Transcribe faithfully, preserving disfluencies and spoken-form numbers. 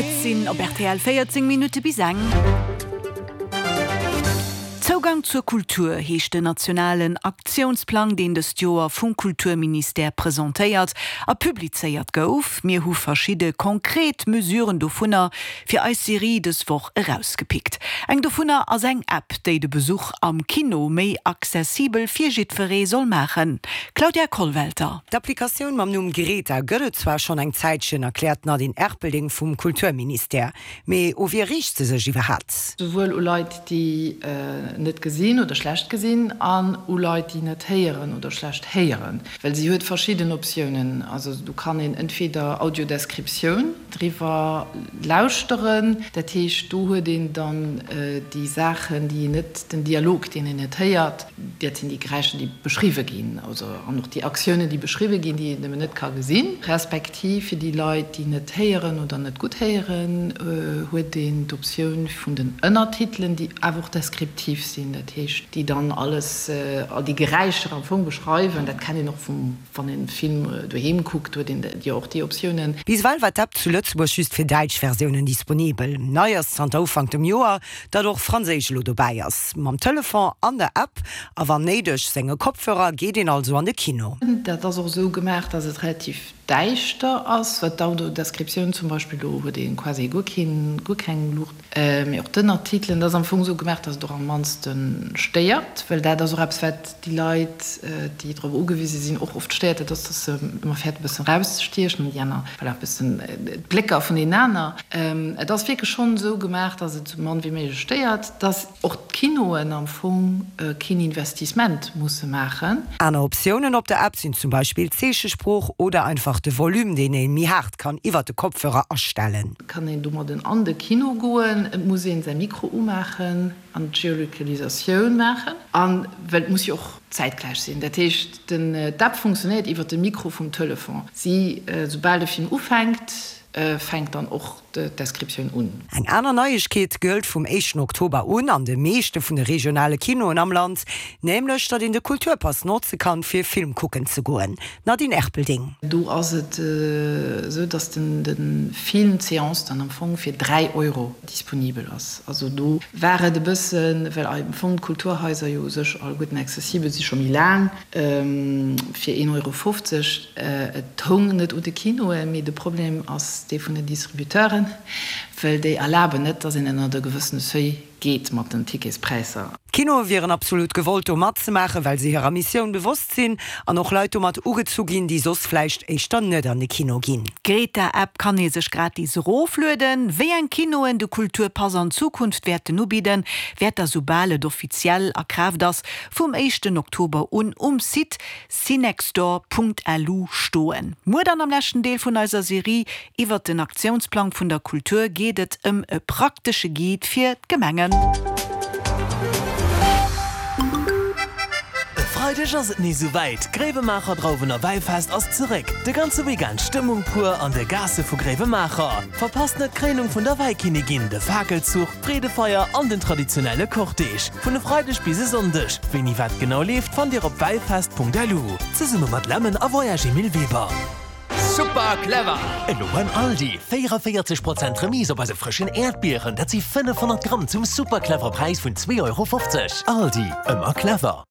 Et sinn op rtl véierzéng Minutte bis eng. Zougang zur Kultur heescht den nationalen Aktiounsplang, deen dëst Joer vum Kulturministère presentéiert a publizéiert gouf. Mir hu verschidde konkret Mesuren dovunner fir eis Serie dës Woch erausgepickt. Eng dovunner ass eng App, déi de Besuch am Kino méi accessibel fir jiddweree soll maachen. Claudia Kollwelter. D'Applikatioun mam Numm Greta gëtt et zwar schonn eng Zäitchen, erkläert d'Nadine Erpelding vum Kulturministère. Mee u wie riicht se sech iwwerhaapt? Souwuel u Leit, déi net gesinn oder schlecht gesinn an u Leit, déi net héieren oder schlecht héieren. Well si huet verschidden Optiounen. Also do kann een entweder Audiodescriptioun driwwer lauschteren, dat heescht do huet een dann déi Saachen, déi een net, den Dialog, deen een net héiert, dat sinn déi Geräischer, déi beschriwwe ginn, also an och déi Aktiounen, déi beschriwwe ginn, déi een nëmmen net ka gesinn. Respektiv fir déi Leit, déi net héieren oder net gutt héieren, huet een d'Optioun vun den Ënnertitelen, déi awer och deskriptiv sinn, dat heescht, déi dann alles, all déi Geräischer am Fong beschreiwen. Dat kennt een och vum, wann een e Film doheem kuckt, huet een jo och déi Optiounen. Bis ewell war d'App zu Lëtzebuerg just fir däitsch Versiounen disponibel. Nei ass zanter Ufank dem Joer, datt och Franséisch elo dobäi ass. Mam Telefon an der App a wann néideg senge Kopfhörer geet een also an de Kino. Dat ass och esou gemaach, datt et relativ däischter ass, wat d'Audiodescriptioun zum Beispill, do huet ee quasi guer keen, guer keng Luucht, mee och d'Ënnertitelen, dat ass am Fong esou gemaach, datt et och am mannste stéiert, well dat ass och eppes, wat déi Leit, déi drop ugewise sinn, och oft stéiert, dat ass, datt se ëmmer fäerten, e bëssen erauszestiechen an déi aner, voilà, e bëssen d'Blécker vun deenen aner. Et ass wierklech schonn esou gemaach, datt et esou mann wéi méiglech stéiert, datt och d'Kinoen am Fong keen Investissement musse maachen. Aner Optiounen op der App sinn zum Beispill d'Zeechesprooch oder einfach de Volume, deen ee méi haart kann iwwert de Kopfhörer astellen. Kann een domadden an de Kino goen. Et muss een säi Mikro umaachen an d'Geolocalisatioun maachen. An well et muss jo och zäitgläich sinn. Dat heescht, den d'App funktionéiert iwwert de Mikro vum Telefon. Si, soubal de Film ufänkt, fänkt dann och d'Descriptioun un. Eng aner Neiegkeet gëllt vum éischten Oktober un an de meeschte vun de regionale Kinoen am Land, nämlech datt een de Kulturpass notze kann, fir Film kucken ze goen. Nadine Erpelding. Do ass et esou, datt de Film, d'Seance dann am Fong fir dräi Euro disponibel ass. Also do war et e bëssen, well am Fong d'Kulturhaiser jo u sech alleguerten accessibel si scho méi laang, fir een Euro fofzeg. Et houng net u de Kinoen, mee de Problem ass dee vun den Distributeuren, well déi erlaben net, datt een ënnert e gewëssene Seuil geet mat den Ticketspräisser. D'Kinoe wieren absolut gewollt do matzemaachen, well se hirer Missioun bewosst sinn an och Leit domat ugezu ginn, déi soss vläicht éischter net an de Kino ginn. D'Greta-App kann ee sech gratis eroflueden. Wéi eng Kinoen de Kulturpass an Zukunft wäerten ubidden, wäert da soubal et offiziell a Kraaft ass, vum éischten Oktober un um Site cinextdoor.lu stoen. Muer dann am leschten Deel vun eiser Serie iwwert den Aktiounsplang vun der Kultur geet et ëm e praktesche Guide fir d'Gemengen. E Freideg ass et nees esou wäit, D'Gréiwemaacher Drauwen a Wäifest ass zeréck! De ganze Weekend Stëmmung pur an de Gaasse vu Gréiwemaacher. Verpasst net d'Kréinung vun der Wäikinnigin, de Fakelzuch, d'Freedefeier an den traditionelle Cortège. Vun e Freideg bis e Sonndeg. Wéini wat genau leeft, fannt dir op wäifest.lu. Zesumme mat Lemmen a Voyages Emile Weber. Super clever! Elo beim Aldi, véierundavéierzeg Prozent Remise op eise frëschen Äerdbieren, dat si fënnefhonnert Gramm zum super clever Präis vun zwee Euro fofzeg. Aldi, ëmmer clever!